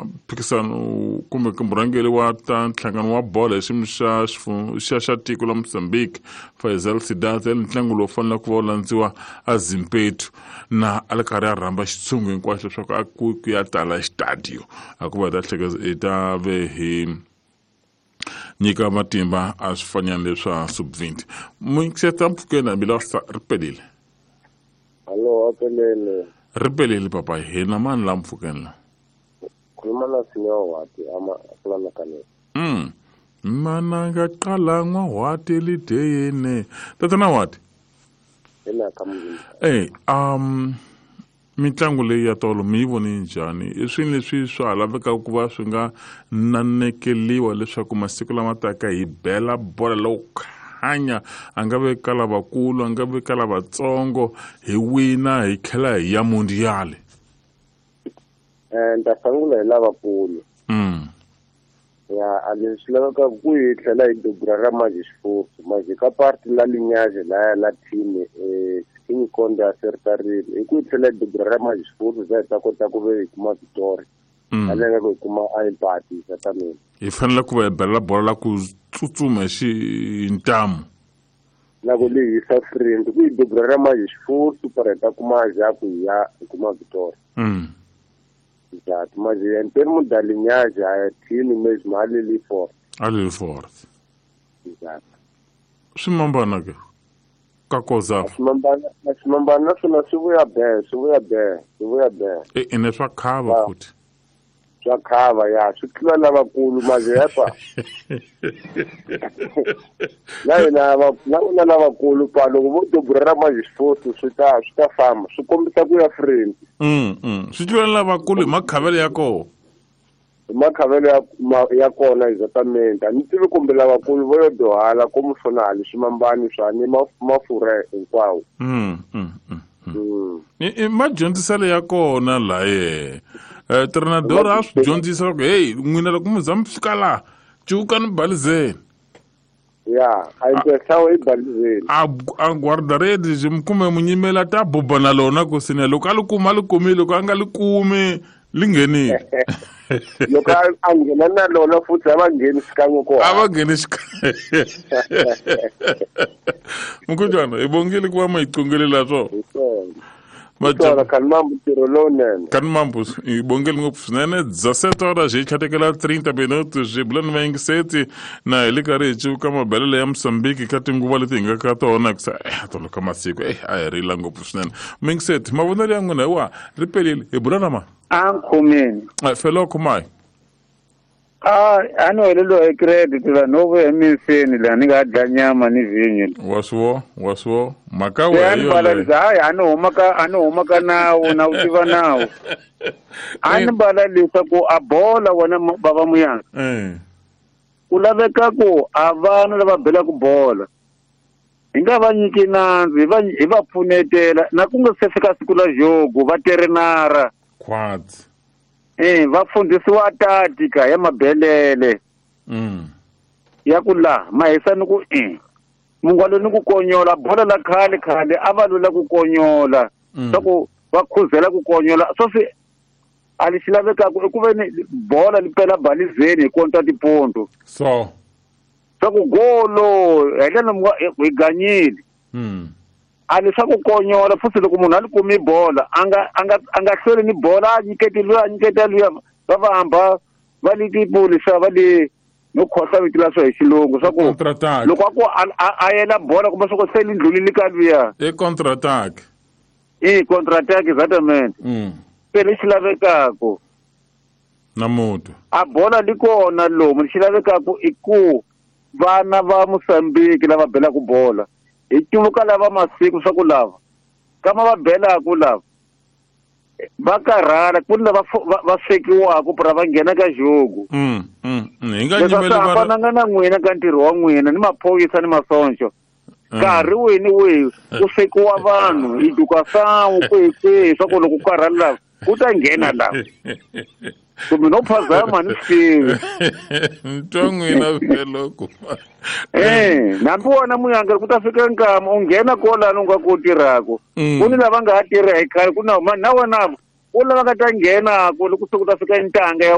mphikisano kumbe murhangeri wa ta nhlangano wa bolo hi xiyimo xa xa tiko la Mozambique Faisal Sidat ntlangu lowu faneleke ku va wu landziwa a Zimpetu na a ri karhi a rhamba xitshungu hinkwaxo leswaku a ku ya tala xitadiyo a ku va hi ta hleketa hi ta ve hi nyika matimba a swifanyana leswa sub-20 muyingiseta mpfhukeni hambi ri pelile. Hallo, apelele. Ri pelile papa hina mani la mpfhukeni la. Khuluma na Sinyawati ama kulana kanene. Mana nga qala n'wahwati lideyini. Tatana Wati. Ina ka muzimba. Mitlangu leyi ya tolo mi yi vone njhani? I swilo leswi swa ha lavekaka ku va swi nga nanekeliwa leswaku masiku lama taka hi bela bola lowo khanya a nga ve ka lavakulu a nga ve ka lavatsongo hi wina hi tlhela hi ya mundial. Ni ta sungula hi lavakulu. Ya a leswi lavekaka ku hi tlhela hi dobura ra manje xifufu manje ka parti la linyazi laya la team King Konde a sertarile hi ku hi tlhela hi dobura ra manje xifufu za hi ta kota ku ve hi kuma victory. A ku hi kuma a empati ta mina. Hi fanele ku va hi belela bola la ku tsutsuma hi ntamu. Na ku lehisa friend ku hi dobura ra manje xifufu para hi ta kuma ja ku hi ya hi kuma victory. Exato, mas em termos da linhagem, a time mesmo, ali forte. Ali forte. Exato. Swimambana ke? Ka koza. Swimambana swona swi vuya be, swi vuya be, swi vuya be. Ene swa khava futhi. Swa khava ya, swi tlula lavakulu manje yepa. Na hina na lavakulu pa loko vo dobura ra manje xifufu swi ta famba, swi kombisa ku ya friend. Swi tlula lavakulu hi makhavelo ya kona. Hi makhavelo ya kona exactamente. A ni tivi kumbe lavakulu vo yo dohala komu swona hali swimambani swa ni mafurha hinkwawo. Madyondziselo ya kona laye. Treinador a swi dyondzisa ku hey n'wina loko mi za mi fika laha cuka ni balizeni. Ya, a impesawo i balizeni. A guarda-redes kumbe munyimeli a ta buba na lona ku sine loko a li kuma a li kumile loko a nga li kumi li nghenile. Loko a nghena na lona futhi a va ngheni xikan'we kona. A va ngheni xikan'we. Mkhujwana hi bongile ku va ma hi qongelela swona. Kanimambu ntirho lowunene. Kanimambu hi bongile ngopfu swinene 17 horas hi tlhatekela 30 minutos hi bula ni vayingiseti na hi le karhi hi cuka mabelelo ya Mozambique ka tinguva leti hi nga ka tona ku tolo ka masiku a hi rila ngopfu swinene. Muyingiseti mavonelo ya n'wina hi wa ri pelile hi bula na ma? A nkhomeni. Felo khumayi. A ni heleliwa hi credit la no vuya emiseni la ni nga dya nyama ni vhinyo. Wa swo mhaka wehe. Hayi a ni huma ka nawu na wu tiva nawu. A ni balalisa ku a bola wena bava muyanga. Ku laveka ku a vana lava belaka bola hi nga va nyiki nandzu hi va pfunetela na ku nga se fika siku la jogo va terenara. Khwatsi. Va fundhisiwa tatika ya mabelele. Ya ku la mahisa ni ku mungwalo ni ku konyola bola la khale khale a va lula ku konyola swa ku va khuzela ku konyola swo swi a li xi lavekaka i ku ve ni bola li pela balizeni hi konta tipondo so swa ku golo hi ndlela hi ganyile. A li swa ku konyola futhi loko munhu a li kumi bola a nga hlweli ni bola a nyiketi luya a nyiketa luya va va hamba va li tipulisa va li no khohla vito la swo hi xilungu swa ku loko a ku a yela bola kumbe swa ku se li ndlulile ka luya i counter attack. I counter attack exactamente. Se lexi lavekaka na mutu a bola li kona lomu lexi lavekaka i ku vana va Mozambique lava belaka bola hi cuvuka lava masiku swa ku lava kama va belaka lava va karhala ku ni lava va swekiwaka pra va nghena ka jogo. Hi nga nyimeli va hambananga na n'wina ka ntirho wa n'wina ni maphorisa ni masoncho. Nkarhi wihi ni wihi ku swekiwa vanhu hi duka sawu kwihi kwihi swa ku loko ku karhala lava ku ta nghena lava. Kumbe no phazama ni swi tivi. Ntwa n'wina vhele ku. Nambi wona muyanga ku ta fika nkama u nghena kolano u nga ku tirhaka. Ku ni lava nga ha tirha hi khale ku na na wena ku lava nga ta nghena ku loko se ku ta fika ntanga ya